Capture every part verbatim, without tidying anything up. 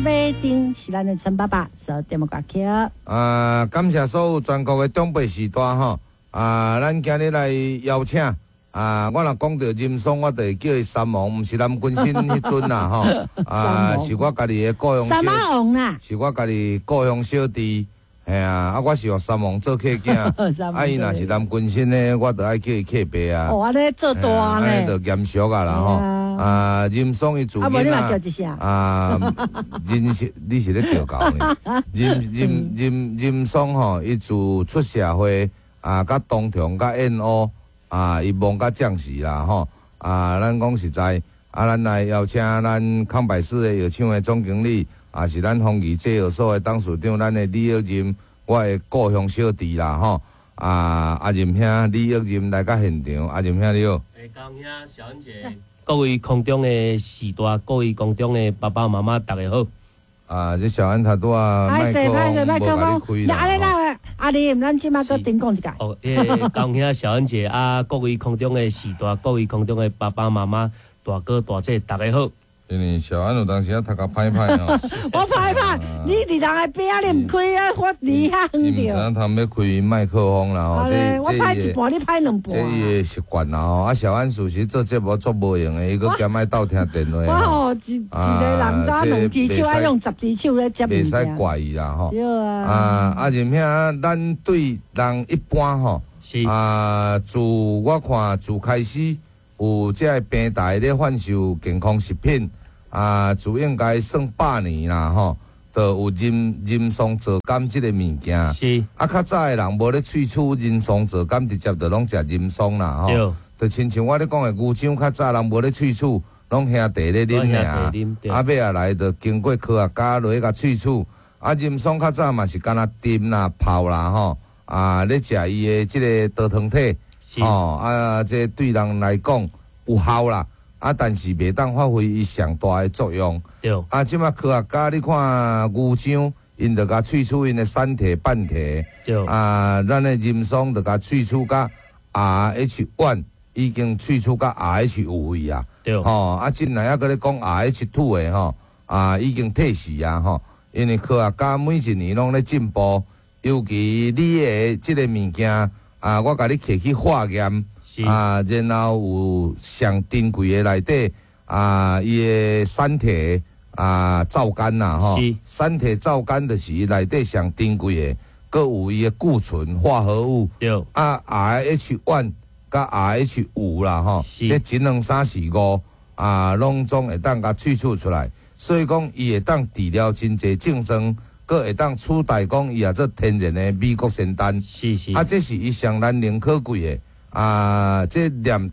馬丁是咱的陳爸爸做節目歌曲。啊，感謝所有全國的長輩序大吼。啊，咱今日來邀請啊，我若講著任爽，我就會叫伊三王，毋是南軍新彼陣啦吼。啊，是我家己的故鄉三王啦，是我家己故鄉小弟。嘿啊，啊，我是予三王做契囝，啊，伊若是南軍新的，我就愛叫伊契爸啊。哦，按呢做大呢，按呢就嚴肅啊啦吼。啊，任爽伊自囡仔啊，任是你是咧調教呢？任任任任爽吼，伊自出社會啊，佮東長佮燕烏啊，伊忙甲將死啦吼。啊，咱講實在，啊，咱來邀請咱康百氏的藥廠的總經理，也是咱豐儀製藥所的董事長，咱的李玉任，我的故鄉小弟啦吼。啊，阿任兄李玉任來到現場，阿任兄你好。欸，高兄小恩姐，各位空中的序大，各位空中的爸爸媽媽，大家好。啊，這小安頭拄仔麥克風無共你開啦。阿你阿林，咱這馬閣頂講一下。哦，欸，高兄小恩姐啊，各位空中的序大，各位空中的爸爸媽媽、大哥大姐，大家好。因為小安有當時啊讀較歹歹吼。我歹歹，你佇人的邊仔你毋開啊，我離遐遠伊毋知影通欲開麥克風啦吼。這我歹一半，你歹兩半。這伊的習慣啦吼。啊，小安事實做節目足無閒的，伊閣兼愛鬥聽電話。我吼一一個人敢兩支手，愛用十支手咧接物袂使怪伊啦吼。對啊。啊，阿任兄，咱對人一般吼，啊，自我看自開始有這个平台咧販售健康食品。啊，自應該算百年啦吼，就有人人參皂苷這個物件。是。啊，較早的人無咧萃取人參皂苷，直接就攏食人參啦吼。對。就親像我咧講的牛樟，較早人無咧萃取，攏兄弟咧啉爾。啊，尾仔來就經過科學家落去共萃取。啊，人參較早嘛是干焦浸啦、泡啦吼。啊，咧食伊的這個多糖體。吼，啊，這對人來講有效啦。啊，但是袂當發揮伊上大的作用。對。啊，這馬科學家你看牛樟，𪜶就共萃取𪜶的三萜半萜。對。啊，咱的人參就共萃取甲 R H one 已經萃取甲 R H 五位啊。對。吼，啊，進來猶閣咧講 R H two 的吼，啊，已經退時啊吼。因為科學家每一年攏咧進步，尤其你的這個物件啊，我共你提去化驗。啊，然後有上珍貴的內底啊，伊的三萜啊皂苷啦吼，三萜皂苷就是伊內底上珍貴的，閣有伊的固醇化合物。對。啊，R H one 佮 R H 五啦吼，這一兩三四五啊，攏總會當共萃取出來，所以講伊會當治療真濟症狀，閣會當取代講伊也做天然的美國仙丹。是是。啊，這是伊上難能可貴的。啊，這念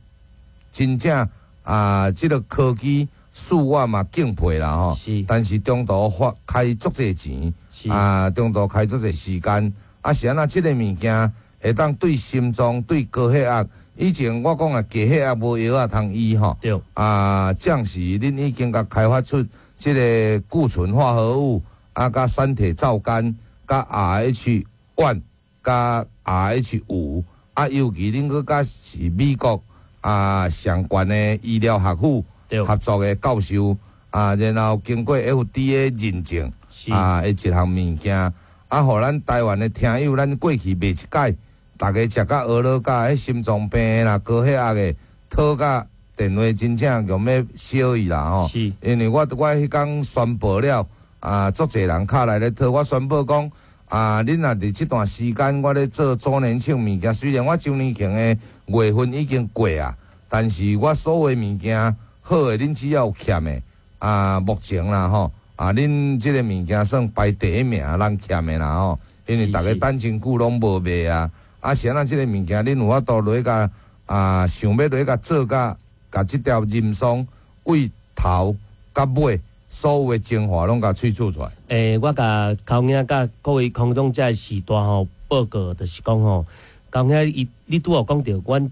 真正啊，這個科技恕我嘛敬佩啦吼。是。但是中途花開足濟錢，啊，中途開足濟時間，啊，是按怎這個物件會當對心臟、對高血壓，以前我講啊，低血壓無藥仔通醫吼。對。啊，暫時恁已經共開發出這個固醇化合物，啊，佮三萜皂苷，佮 R H one，佮 R H 五。啊，尤其恁閣佮是美國啊上懸的醫療學府合作的教授啊，然後經過 F D A 認證啊，的一項物件，啊，予咱台灣的聽友，咱過去賣一擺，逐家食甲呵咾甲彼心臟病啦、高血壓的，討甲電話真正用欲燒伊啦吼。因為我我彼工宣布了，啊，足濟人敲來咧討，我宣布講。啊！恁若佇這段時間，我咧做周年慶物件，雖然我周年慶的月份已經過啊，但是我所有物件好的，恁只要有欠的啊，目前啦吼，啊，恁這個物件算排第一名，人欠的啦吼，因為逐家等真久攏無賣啊。啊，是按怎這個物件，恁有法度落去共啊，想欲落去共做甲，共這條人參對頭到尾。所有的精華攏共萃取出來。欸，我共高兄佮各位空中這序大吼報告，就是講吼，高兄伊你拄仔講著，阮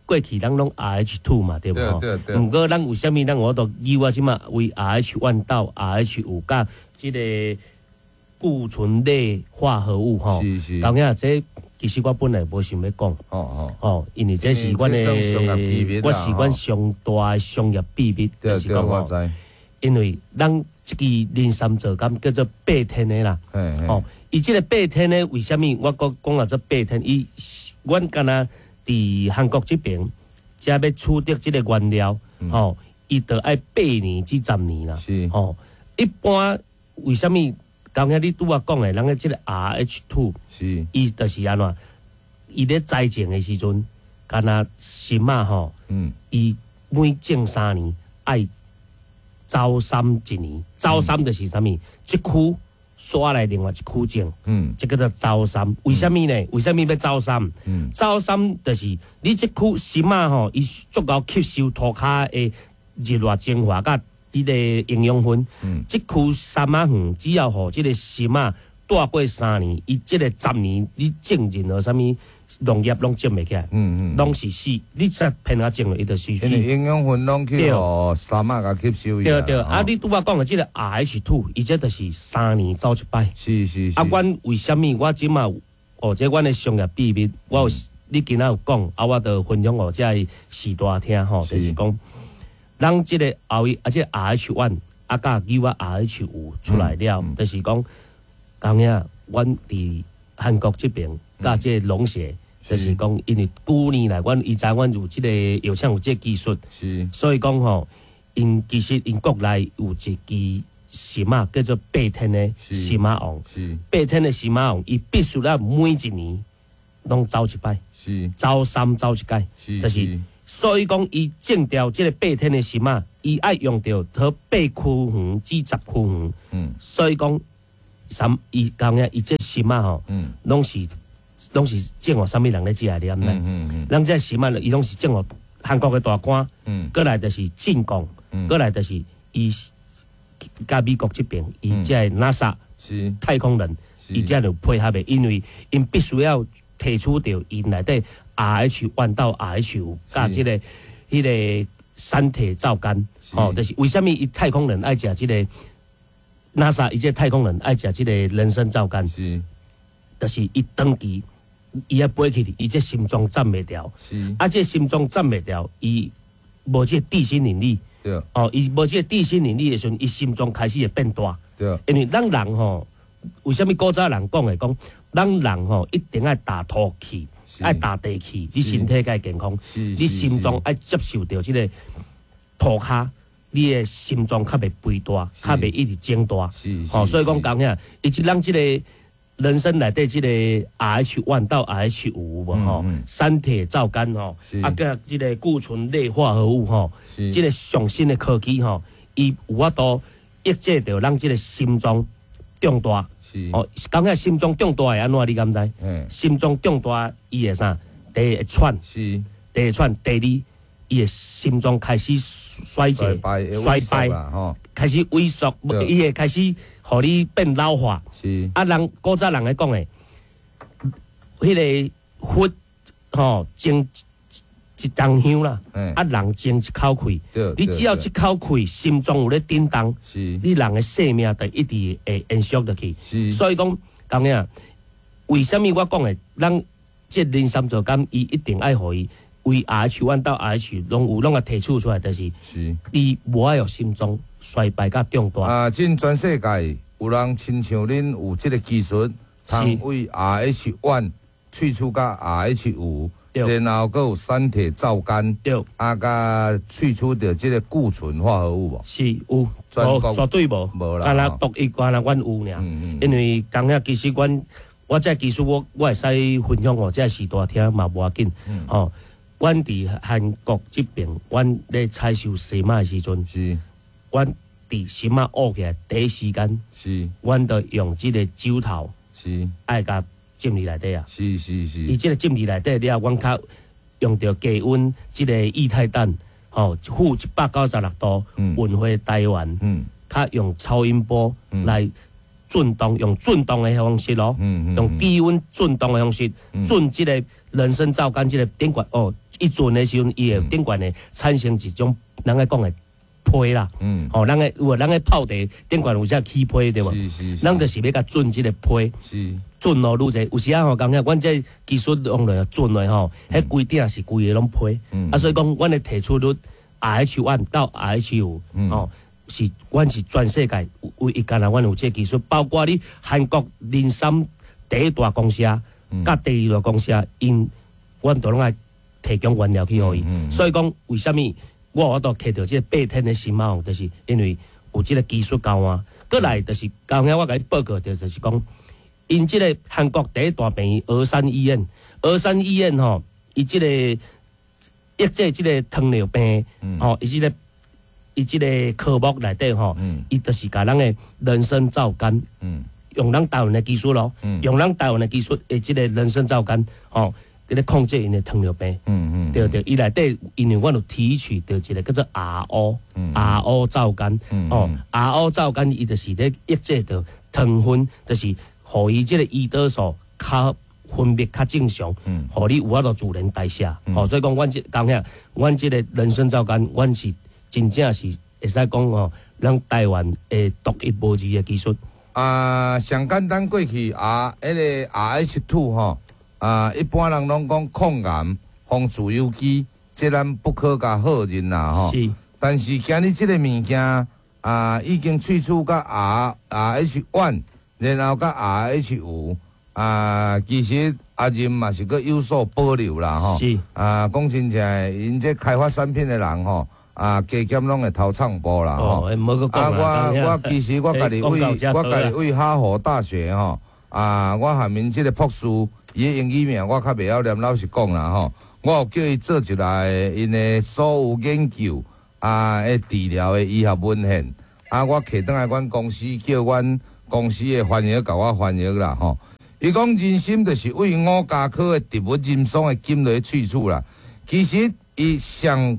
過去咱攏 R H two 嘛，對無吼？對對。毋過咱為啥物咱有法度以我這馬為 R H one 到 R H 五佮這個固醇類化合物吼？是是。高兄，這其實我本來無想欲講。哦哦。哦，因為這是阮的，我是阮上大的商業秘密，對對，我知。因為咱這支人參皂苷叫做八天的啦。嘿嘿哦，伊這個八天的為啥物我閣講啊做八天？伊阮敢若佇韓國這爿，才欲取得這個原料，吼，伊著愛八年至十年啦。是吼，一般為啥物？剛才你拄仔講的，人的這個 R H two，是伊就是按怎？伊咧栽種的時陣，敢若參仔吼，嗯伊每種三年愛走參一年，走參就是啥物？這區煞來另外一區種，嗯這叫做走參。為啥物呢？為啥物欲走參？嗯走參就是你這區參仔吼，伊足夠吸收塗跤的日熱精華佮彼個營養分。嗯這區參仔園只要予這個參仔蹛過三年，伊這個十年你種任何啥物農業攏種袂起來，嗯嗯，攏是死。你才偏仔種落，伊就是死。因為營養分攏去對予參仔共吸收去對對，吼啊！你拄仔講的這個 R H two，伊這就是三年走一擺。是是是啊，阮為啥物我這馬哦，這阮的商業秘密，我有你今仔有講，啊，我就分享予這个序大聽吼，是就是講，咱這個後啊，這個 R H one 啊，佮牛仔 R H 五出來了，就是講，當影阮佇韓國這爿，佮這個農協，就是講，因為舊年來，阮伊知阮有這個藥廠有這個技術。是所以講吼，𪜶其實𪜶國內有一支參仔叫做八天的是參仔王，是八天的參仔王，伊必須要每一年攏走一擺，是走參走一擺，是就是所以講伊種著這個八天的參仔，伊愛用著佗八區園至十區園，嗯所以講參伊講影伊這參仔吼，嗯攏是攏是種予啥物人咧食的，你敢知？嗯嗯咱這參仔伊攏是種予韓國的大官。嗯過來就是進貢，過來就是伊佮美國這爿，伊這個 NASA 是太空人，是伊才有配合的，因為𪜶必須要提取著𪜶內底 R H one 到 R H 五，佮這個彼個三鐵皂苷，吼，就是為啥物伊太空人愛食這個 NASA 伊這個太空人愛食這個人參皂苷，是就是伊長期伊愛飛起去，伊這心臟站袂牢，是啊，這心臟站袂牢，伊無這個地心引力。對哦，伊無這個地心引力的時陣，伊心臟開始會變大。對因為咱人吼，為啥物古早人講的講，咱人吼一定愛踏土氣，是愛踏地氣，你身體才會健康。是你心臟愛接受著這個塗跤，你的心臟較袂肥大，較袂一直增大。是吼，所以講講遐，伊這咱這個人參內底這個 R H one 到 R H 五無吼，三鐵皂苷吼，啊，佮這個固醇類化合物吼，是這個上新的科技吼，伊有法度抑制著咱這個心臟脹大。是哦，講起心臟脹大會按怎？你敢知？心臟脹大，伊會啥？第一會喘，是第一會喘，第二伊的心臟開始衰竭、衰敗，開始萎縮，伊會開始予你變老化。是啊，人古早人咧講的，彼個佛吼種一筒香啦，啊人種一口氣，你只要一口氣，心臟有咧震動，你人的生命就一直會延續落去。是所以講，講影，為啥物我講的，咱這人參皂苷，伊一定愛予伊。為 R H one 到 R H 攏有攏共提取出來，就是伊無愛予心臟衰敗佮脹大。啊，這全世界有人親像恁有這個技術，通為 R H one 萃取佮 R H 五，然後閣有三鐵皂苷，對，啊，佮萃取著這個固醇化合物無？是有，無絕對無，無啦。敢若獨一敢若阮有爾，因為當下其實阮我這技術我我會使分享予這序大聽嘛無要緊，吼。阮佇韓國這爿，阮咧採收參仔的時陣，是，阮佇參仔挖起來第一時間，是，阮就用這個指頭，是，愛共浸佇內底啊，是是是，伊這個浸佇內底了，阮較用著低溫這個液態氮，吼，負一百九十六度運回台灣，嗯，較用超音波來震動，用震動的方式咯，用低溫震動的方式，震這個人參皂苷這個頂懸哦。伊震的時陣，伊會頂懸會產生一種人咧講的皮啦，吼，人咧有人咧泡茶頂懸有啥起皮對無？咱就是欲共震這個皮，震落愈濟。有時仔吼，感覺阮這技術用落震落吼，彼規鼎是規个攏皮。啊，所以講，阮的提取率 R H one 到 R H 五，吼，是阮是全世界唯一干焦阮有這個技術，包括你韓國人參第一大公司佮第二大公司，𪜶阮都攏愛提供原料去予伊。所以講，為啥物我有法度摕著這個八天的新馬王，就是因為有這個技術交換。閣來就是剛才我共你報告著，就是講，𪜶這個韓國第一大病院峨山醫院，峨山醫院吼，伊這個抑制這個糖尿病，吼，伊這個伊這個科目內底吼，伊就是共咱的人參皂苷，用咱台灣的技術咯，用咱台灣的技術的這個人參皂苷，吼，佇咧控制𪜶的糖尿病。嗯嗯，對對，伊內底因為阮有提取著一個叫做 R O，R O 皂苷，哦，R O 皂苷伊就是咧抑制著糖分，就是予伊這個胰島素較分泌較正常，予你有法度自然代謝。吼，所以講，阮這講遐，阮這個人參皂苷，阮是真正是會使講吼，咱台灣的獨一無二的技術。啊，上簡單過去啊，彼個 R H two 吼，啊，一般人攏講抗癌、防自由基，這咱不可共否認啦吼。是。但是今日這個物件啊，已經萃取佮 R R H one，然後佮 R H 五啊，其實阿任嘛是閣有所保留啦吼。是。啊，講真正的，𪜶這開發產品的人吼，啊，加減攏會偷創步啦吼。啊，我我其實我家己為我家己為哈佛大學吼，啊，我含𪜶這個博士，伊的英語名我較袂曉念，老實講啦吼。我有叫伊做一來𪜶的所有研究啊，的治療的醫學文獻。啊，我提轉來阮公司，叫阮公司的翻譯共我翻譯啦吼。伊講人參就是為五加科的植物人參的根來萃取啦。其實伊上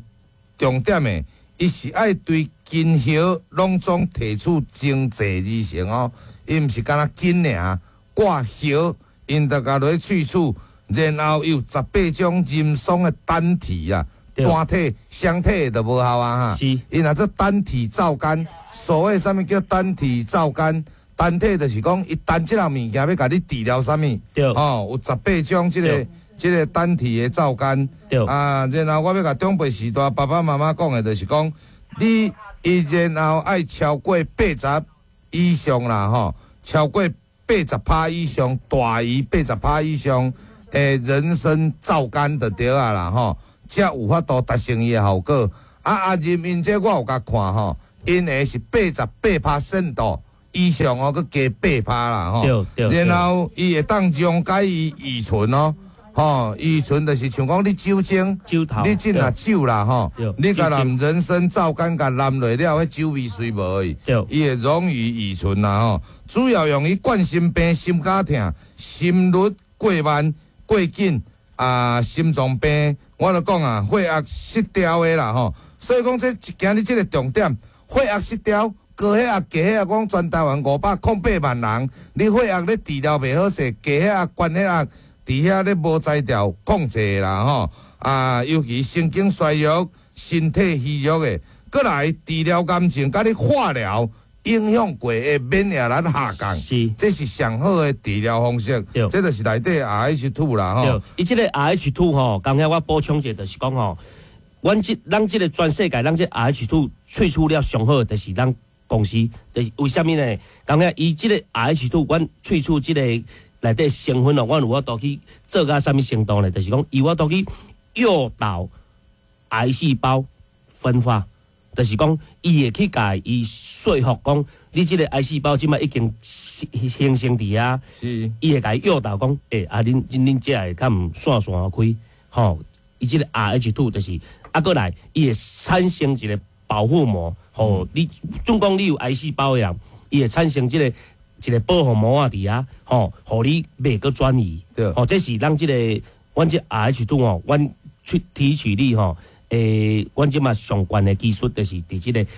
重點的，伊是愛對根葉攏總提取精製而成哦。伊毋是干焦根爾，掛葉，𪜶就共落去萃取，然後有十八種人參的單體啊，單體、雙體都無效啊哈。是。伊若做單體皂苷，所謂啥物叫單體皂苷？單體就是講，伊單這項物件欲共你治療啥物？對。哦，有十八種這個這個單體的皂苷。對。啊，然後我欲共長輩時代爸爸媽媽講的，就是講，你伊然後愛超過八十以上啦，吼，超過八十趴以上，大於八十趴以上的人參皂苷就對啊啦，吼，才有法度達成伊的效果。啊，阿任𪜶這我有共看吼，𪜶的是八十八趴聖度以上哦，閣加八趴啦，吼。然後伊會當溶解伊乙醇哦。吼，乙醇就是像講你酒精，酒頭，你進若酒啦，吼，你共淋人參皂苷共淋落了，彼酒味隨無去，伊會溶於乙醇啦，吼。主要用於冠心病、心絞痛、心率過慢、過緊啊、心臟病。我就講啊，血壓失調的啦，吼。所以講這今日這個重點，血壓失調。高血壓、低血壓，講全台灣五百空八萬人，你血壓咧治療袂好勢，低血壓、懸血壓，佇遐咧無才調控制啦吼。啊，尤其神經衰弱、身體虛弱的，閣來治療癌症，佮你化療影響過的免疫力下降，是，這是上好的治療方式。對，這就是內底 R H two 啦吼。伊這個 R H two 吼，剛才我補充一下，就是講吼，阮這咱這個全世界，咱這 R H two 萃取了上好，就是咱公司，就是為啥物呢？感覺伊這個 R H two，阮萃取這個內底成分哦，阮有法度去做到啥物程度呢？就是講，伊有法度去誘導癌細胞分化，就是講，伊會去共伊說服講，你這個癌細胞這擺已經形成佇遐，是，伊會共伊誘導講，欸，啊，恁恁這會較毋散散開，吼，伊這個 R H two 就是，啊，閣來，伊會產生一個保護膜。吼，你總講你有癌細胞的人，伊會產生這個一個保護膜啊佇遐，吼，予你袂閣轉移。對，吼，這是咱這個阮這 R H two 吼，阮去提取率吼，欸，阮這馬上懸的技術就是佇這個，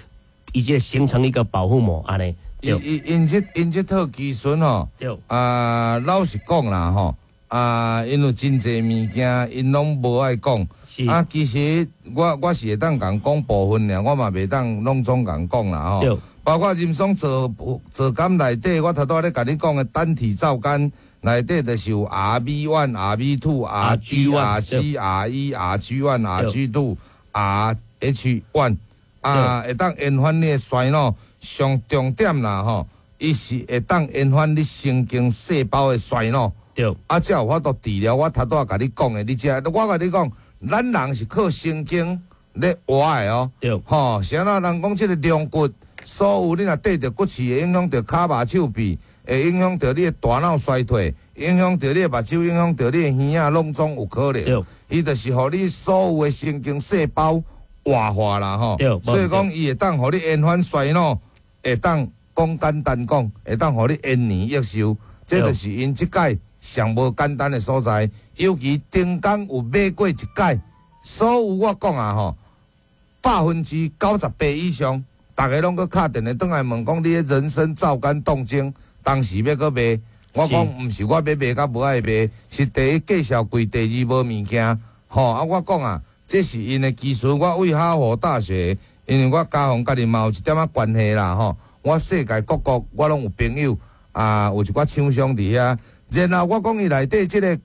伊這個形成一個保護膜按呢。伊伊𪜶這𪜶這套技術吼，對，啊，老實講啦吼，啊，因有真濟物件，𪜶攏無愛講。啊，其實我我是會當共講部分爾，我嘛袂當攏總共講啦吼。包括人參皂皂苷內底，我頭拄仔咧共你講的單體皂苷內底，就是有 R B one、R B two、R G、R C、R E、R G one、R G two、R H one。啊，會當延緩你的衰老。上重點啦吼，伊是會當延緩你神經細胞的衰老。對，啊，才有法度治療。我頭拄仔共你講的，你知？我共你講，咱人是靠神經咧活的哦。對，吼，是按怎人講這個龍骨，所有你若綴著骨刺，會影響著跤肉手臂，會影響著你的大腦衰退，影響著你的目睭，影響著你的耳仔，攏總有可能。伊就是予你所有的神經細胞活化啦，吼。所以講，伊會當予你延緩衰老，會當講簡單講，會當予你延年益壽。這就是𪜶這擺上無簡單的所在。尤其頂工有買過一擺，所有我講啊吼，百分之九十八以上，逐家攏閣敲電話轉來問講，你的人參皂苷凍精當時欲閣賣？我講毋是我欲賣佮無愛賣，是第一介紹貴，第二無物件。吼啊！我講啊，這是𪜶的技術。我為哈佛大學，因為我家訪家己嘛有一點仔關係啦，吼。我世界各國我攏有朋友啊，有一寡廠商佇遐。然後我講伊內底這個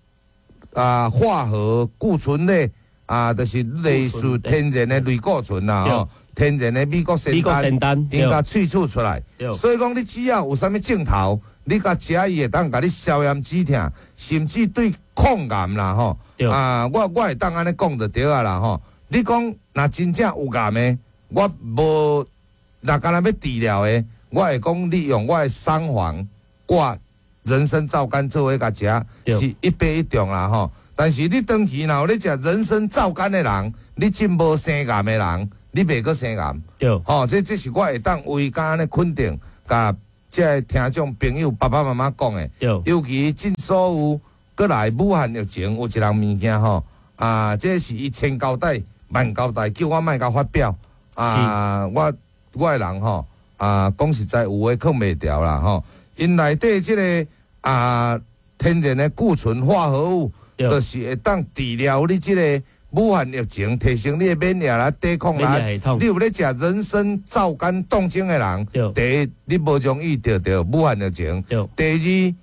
啊化合固醇類啊，就是類似天然的類固醇啦，吼，天然的美國仙丹，𪜶共萃取出來。所以講，你只要有啥物症頭，你共食伊會當共你消炎止痛，甚至對抗癌啦，吼。啊，我我會當按呢講就對啊啦，吼。你講若真正有癌的，我無若干焦欲治療的，我會講你用我的桑黃掛人參皂苷做伙共食，是一百一中啦，吼。但是你長期若有咧食人參皂苷的人，你真無生癌的人，你袂閣生癌。對，吼，這這是我會當為敢按呢肯定，共這个聽眾朋友爸爸媽媽講的。尤其這所有閣來武漢疫情有一項物件吼，啊，這是伊千交代萬交代，叫我莫共發表。啊，我我的人吼，啊，講實在有話囥袂牢啦吼。𪜶內底這个啊天然的固醇化合物，就是會當治療你這个武漢疫情，提升你的免疫力、抵抗力。你有咧食人參皂苷凍精的人，第一你無容易得著武漢疫情。第二，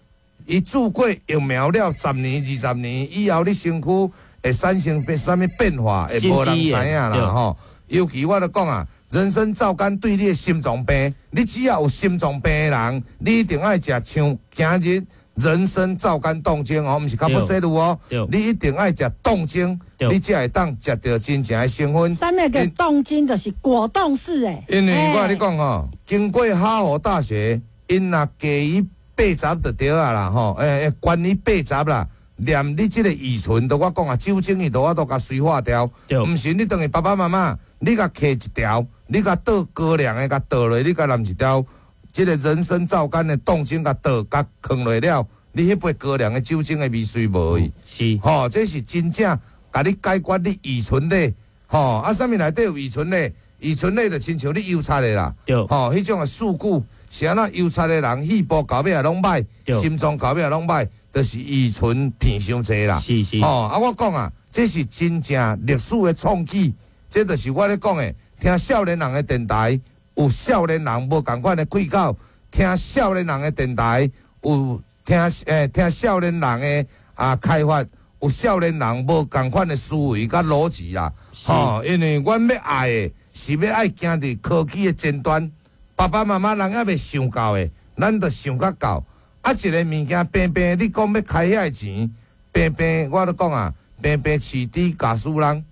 伊注過疫苗了十年、二十年以後，你身軀會產生變啥物變化，會無人知影啦吼。尤其我著講啊，人參皂苷對你的心臟病，你只要有心臟病的人，你一定愛食像今日人參皂苷凍精哦，毋是卡布西露哦，你一定愛食凍精，你才會當食著真正的成分。啥物叫凍精？就是果凍式的。因為我共你講吼，經過哈佛大學，𪜶若加伊八十就對啊啦吼，欸欸，懸伊八十啦，連你這个乙醇都我講啊，酒精伊都我都共催化掉。毋是你轉去爸爸媽媽，你共揢一條，你共倒高粱的共倒落，你共淋一條，這个人參皂苷的凍精共倒共囥落了，你彼杯高粱的酒精的味隨無去。是，吼，這是真正共你解決你乙醇咧，吼，啊，啥物內底有乙醇咧？乙醇咧就親像你油漆的啦，吼，彼種的事故是按怎油漆的人，肺部到尾也攏歹，心臟到尾也攏歹，就是乙醇片傷濟啦。是是。吼，啊，我講啊，這是真正歷史的創舉，這就是我咧講的。聽少年人的電台，有少年人無仝款的氣口；聽少年人的電台，有聽欸聽少年人的啊開發，有少年人無仝款的思維佮邏輯啦。吼，因為阮欲愛的是欲愛行佇科技的前端，爸爸媽媽人猶未想到的，咱就想較到。啊，一个物件平平，你講欲開遐个錢，平平，我咧講啊，平平飼豬咬死人，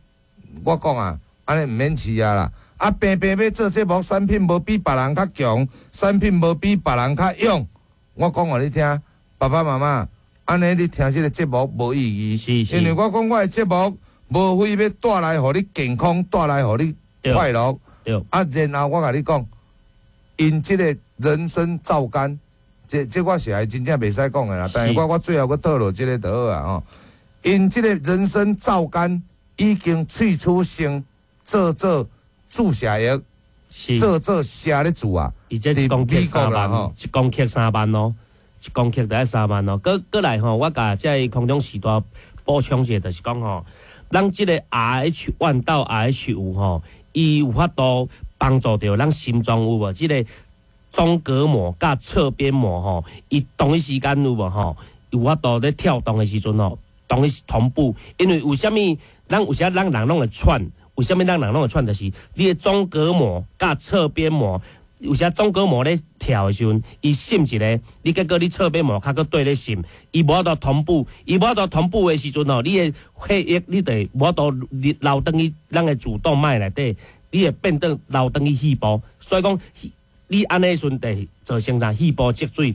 我講啊，按呢毋免飼啊啦。啊，平平欲做節目，產品無比別人較強，產品無比別人較勇。我講予你聽，爸爸媽媽，按呢你聽這个節目無意義，是是因為我講我的節目，無非欲帶來予你健康，帶來予你快樂。啊，然後我共你講，𪜶這个人參皂苷，這這我是還真正袂使講的啦。但是我我最後閣套落這个就好啊吼。𪜶這个人參皂苷已經萃取成做做注射液，做做射咧注啊。伊這一公克三萬，一公克三萬哦，一公克就愛三萬哦。閣閣來吼，我共這个空中時代補充一下，就是講吼，咱這个 R H one 到 R H 五吼，伊有法度幫助著咱心臟有無？這个中隔膜佮側邊膜吼，伊同一時間有無吼？有法度咧跳動的時陣吼，同一同步。因為為啥物？咱有時咱人攏會喘，為啥物咱人攏會喘？就是你的縱隔膜佮側邊膜，有時縱隔膜咧跳的時陣，伊滲一个，你結果你側邊膜較閣綴咧滲，伊無法度同步，伊無法度同步的時陣吼，你的血液你就會無法度流轉去咱的主動脈內底，你會變轉流轉去肺部，所以講你按呢時陣就會造成啥肺部積水，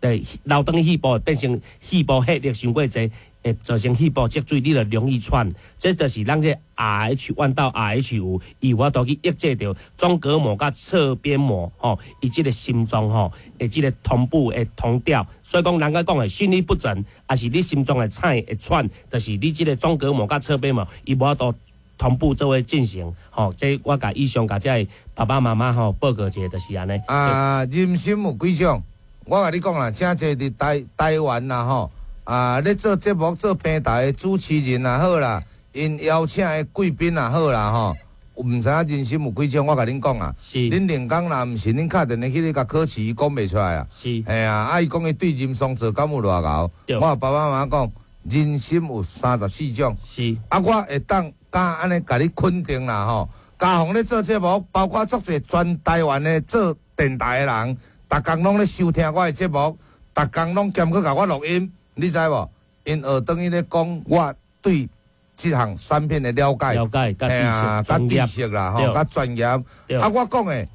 就流轉去肺部會變成肺部血液傷過濟，會造成肺部積水，你就容易喘。這就是咱這 R H one 到 R H 五，伊有法度去抑制著縱隔膜佮側邊膜吼，伊這个心臟吼，會這个同步會同調。所以講，人家講的心律不整，抑是你心臟會喘會喘，就是你這个縱隔膜佮側邊膜，伊無法度同步做伙進行。吼，這我共以上共這个爸爸媽媽吼報告一下，就是按呢。啊，人參有幾種？我共你講啦，誠濟佇台台灣啦吼，啊，咧做節目做平台的主持人也好啦，𪜶邀請的貴賓也好啦吼，毋知影人參有幾種？我共恁講啊，是恁連工若毋是恁敲電話去咧共考試，伊講袂出來啊。是嘿啊，啊伊講伊對人參做敢有偌𠢕？對我爸爸媽媽講，人參有三十四種。是啊，我會當敢按呢共你肯定啦吼。嘉宏咧做節目，包括足濟全台灣的做電台的人，逐工攏咧收聽我的節目，逐工攏兼閣共我錄音，你知無？𪜶學轉去咧講我對這項產品的了解，了解，佮嘿啊，知識佮知識啦吼，對佮專業。對啊，我講的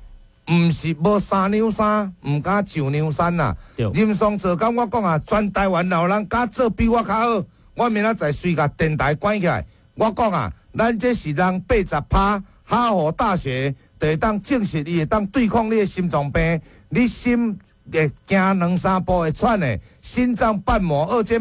毋是無三兩三，毋敢上梁山啦。對人參皂苷我講啊，全台灣若有人敢做比我較好，我明仔載隨共電台關起來。我講啊，咱這是人八十趴，哈佛大學就會當證實伊會當對抗你的心臟病，你心會行兩三步會喘的，心臟瓣膜二尖。